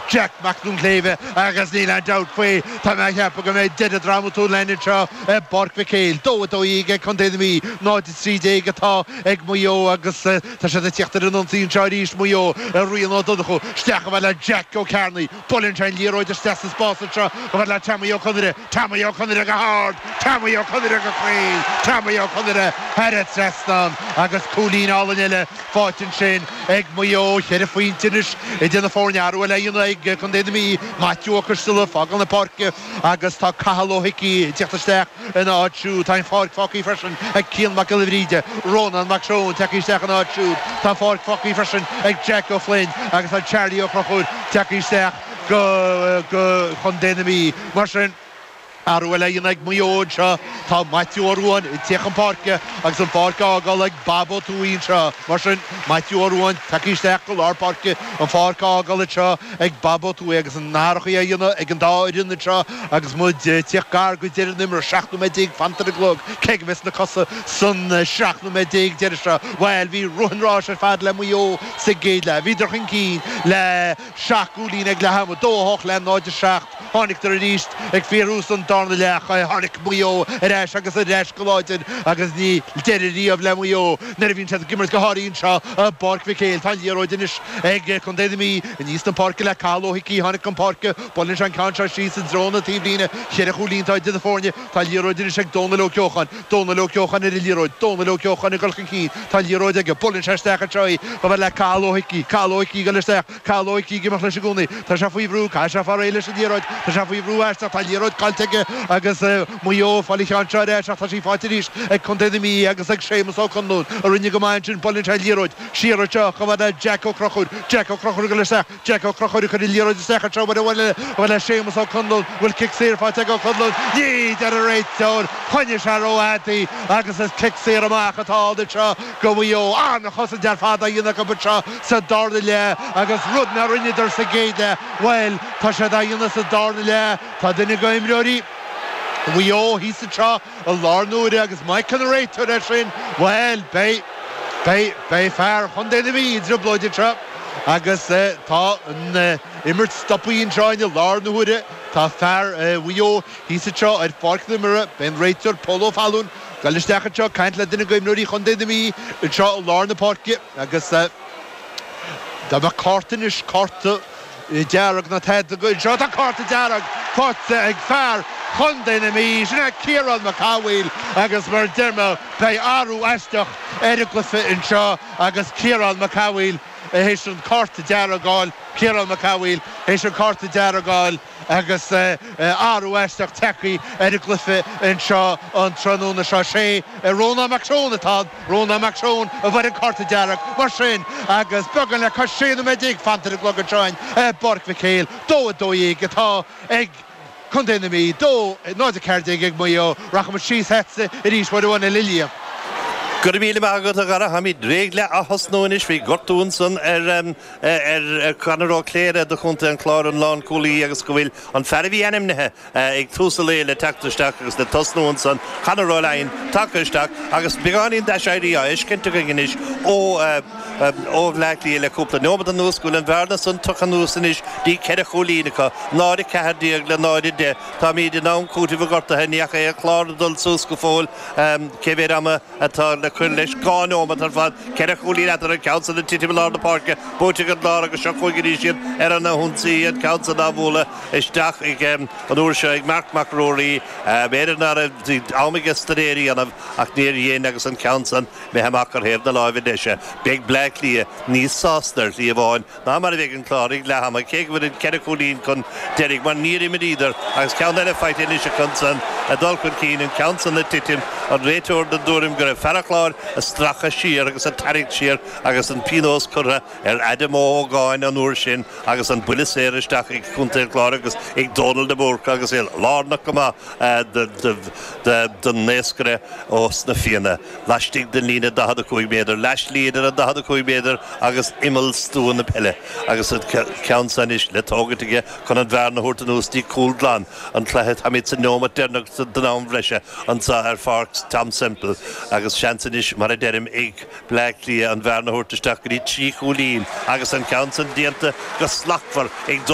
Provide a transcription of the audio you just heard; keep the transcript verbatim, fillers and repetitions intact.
Jack Mac Duinnshléibhe agus níl aon dabht faoi tá mé ag ceapadh go mbeidh deireadh drámatúil againn anseo i bPáirc Mhic Éil. Dó a dó dhéag ag Contae na Mí, náid a trí déag atá ag Maigh Eo agus tá siad ag tíocht ar an ionsaí anseo arís Maigh Eo, Rian Ó Donnchú isteach chomh fada le Jack Ó Cearnaigh. Buaileann sé an liathróid isteach sa spás anseo chomh fada le Tommy Ó Conaire. Tommy Ó Conaire go hard! Tommy Ó Conaire go cruinn! Tommy Ó Conaire thar an trasnán agus cúilín álainn eile faighte ansin ag Maigh Eo. Ceithre phointe anois idir na foirne. Athrú eile á dhéanamh ag Contae na Mí. Maitiú Ó Coisteala ag fágáil na páirce agus tá Cathal Ó hIcí ag teacht isteach ina áit siúd. Tá an pháirc fágtha freisin ag Cian Mac Giolla Bhríde. Rónán Mac Seoin tagtha isteach ina áit siúd. Tá an pháirc fágtha freisin ag Jack Ó Floinn agus tá Charlie Ó Conchúir tagtha isteach go go Chontae na Mí. Mar sin, athrú eile á dhéanamh ag Maigh Eo anseo. Tá Maitiú Ó Ruadháin ag tíocht chun páirce agus an pháirc á fhágáil ag Bob Ó Tuathaigh anseo. Mar sin, Maitiú Ó Ruadháin tagtha isteach go lár páirce, an pháirc á fhágáil anseo ag Bob Ó Tuathaigh agus an athrachaí á dhéanamh ag an dá fhoireann anseo agus muid ag tíocht gar go deireadh na himeartha. Seacht nóiméad déag fanta ar an gclog. Cé go mbeas na cosa san seacht nóiméad déag deiridh seo? Bhuel, bhí rith an ráis ar fad le Maigh Eo sa gcéad leath. Bhíodar chun cinn le seacht gcúilín ag leath ama, dó a hocht le náid a seacht. Tháinig-dar arís ag fíorthús an darna leath. Tháinig Maigh Eo ar ais agus ar ais go láidir agus níl deireadh riamh le Maigh Eo nuair a bhíonn siad ag imirt go háirithe anseo i bPáirc Mhic Éil. Tá an liathróid anois ag Contae na Mí aníos na páirce le Cathal Ó hIcí. Tháinig chun páirce. Buaileann sé an ceann seo síos i dtreo na taobhlíne. Cheithre chúilín atá idir na foirne. Tá an liathróid anois ag Dónal Ó Ceocháin. Dónal Ó Ceocháin ar an liathróid. Dónal Ó Ceocháin ag dul chun cinn. Tá an liathróid aige. Buaileann sé isteach anseo í chomh fada le Cathal Ó hIcí. Cathal Ó hIcí ag dul isteach. Cathal Ó hIcí ag imeacht leis i gcónaí. Tá sé faoi bhrú. Caithfidh sé fáil réidh leis an liathróid. Tá sé faoi bhrú aisteach. Tá an liathróid caillte aige agus Maigh Eo ag fáil an cheann seo ar ais ach tá sí faighte arís ag Contae na Mí agus ag Séamus Ó Conluain a rinne go maith ansin. Buaileann sé an liathróid siar anseo chomh fada le Jack Ó Conchúir. Jack Ó Conchúir ag dul isteach. Jack Ó Conchúir ag cur an liathróid isteach anseo uair amháin eile chomh fada le Séamus Ó Conluain. Bhfuil cic saor faighte ag Ó Conluain? Ní, deir an réiteoir. Choinnigh sé rófhada í agus is cic saor amach atá ann anseo go Mhaigh Eo. An-chosaint ar fad á dhéanamh acu anseo sa darna leath agus rud nár rinneadar sa gcéad leath, bhuel, tá siad á dhéanamh sa darna leath. Tá duine de imreoirí Mhaigh Eo thíos anseo i lár na huaire agus má fheiceann an réiteoir é sin, bhuel, beidh, beidh, beidh fear Chontae na Mí i dtrioblóid anseo agus tá an imirt stoptha anseo i lár na huaire. Tá fear Mhaigh Eo thíos anseo ar pháirc na himeartha. Beidh an réiteoir Pól Ó Fallúin ag dul isteach anseo ag caint le duine d'imreoirí Chontae na Mí anseo i lár na páirce agus dá mbeadh cárta anois, cárta dearg nó tada anseo, tá cárta dearg faighte ag fear Chontae na Mí, sin é Ciarán Mac Cathmhaoil agus mar a deir mé beidh athrú aisteach ar an gcluiche anseo agus Ciarán Mac Cathmhaoil théis an cárta dearg a fháil, Ciarán Mac Cathmhaoil théis an cárta dearg a fháil agus athrú aisteach tagtha ar an gcluiche anseo an tráthnóna seo. Sé Rónán Mac Seoin atá ann, Rónán Mac Seoin a fuair an cárta dearg mar sin agus beagán le cois sé nóiméad déag fanta ar an gclog anseo i bPáirc Mhic Éil, dó a dó dhéag atá ag Contae na Mí, dó, náid a ceathair déag ag Maigh Eo. Rachaimid síos chugatsa arís uair amháin eile a Liam. Go raibh míle maith agat a Dhara. Táimid réidh le ath-thosnú anois. Bhí gortú ansan ar ar Conor Ó Cléire do Chontae an Chláir, an lánchúlaí, agus go bhfuil an fear a bhí ainmnithe ag tús an lae le teacht isteach agus le tosnú ansan, Conor Ó Laighin, tagtha isteach agus beagáinín d'aiséirí á fheiscint againn anois ó ó Bhleá Cliath le cúpla neomat anuas, go bhfuil an bhearna san tugtha anuas anois dtí ceithre chúilín acu, náid a ceathair déag le náid a deich. Táimid in am cúitimh an ghortaithe, ní fhaca aon chlár ag dul suas go fóill. Cé mhéad ama atá le cur leis? Dhá neomat ar fad. Ceithre chúilín eatarthu, an ceann san ag titim i lár na páirce, buaite ag an gClár agus seo chugainn arís iad ar an ionsaí, an ceann san á bhualadh isteach ag an uair seo ag Marc Mac Ruairí. B'fhéidir nach raibh am aige staidéar a dhéanamh ach níor dhein agus an ceann san imithe amach ar thaobh na láimhe deise. Beidh Bleá Cliath níos sásta ar shlí amháin ná mar a bheidh an Clár ag leath ama, cé go bhfuil an ceithre chúilín chun deiridh, mar níor imríodar agus ceann eile faighte anois acu ansan ag dul chun cinn, an ceann san ag titim, an réiteoir den dtuairim go raibh fear an Chláir ag stracadh siar agus ag tarraingt siar agus an pionós curtha ar Adam Ó hÓgáin an uair sin agus an buille saor isteach ag Contae an Chláir agus ag Dónal de Búrca agus é lárnach go maith don naoscaire ós na Fianna laistigh den líne daichead a cúig méadar, leathshlí idir an daichead a cúig méadar agus imeall stua na peile agus an ceann san anois le tógaint aige chun an bhearna a thabhairt anuas dtí cúl glan an chluiche. Táimid sa neomat deireanach. isteach don am bhreise anseo ar Pháirc Tom Semple agus seans anois mar a deirim ag Bleá Cliath an bhearna a thabhairt isteach go dtí trí chúilín agus an ceann san déanta go slachtmhar ag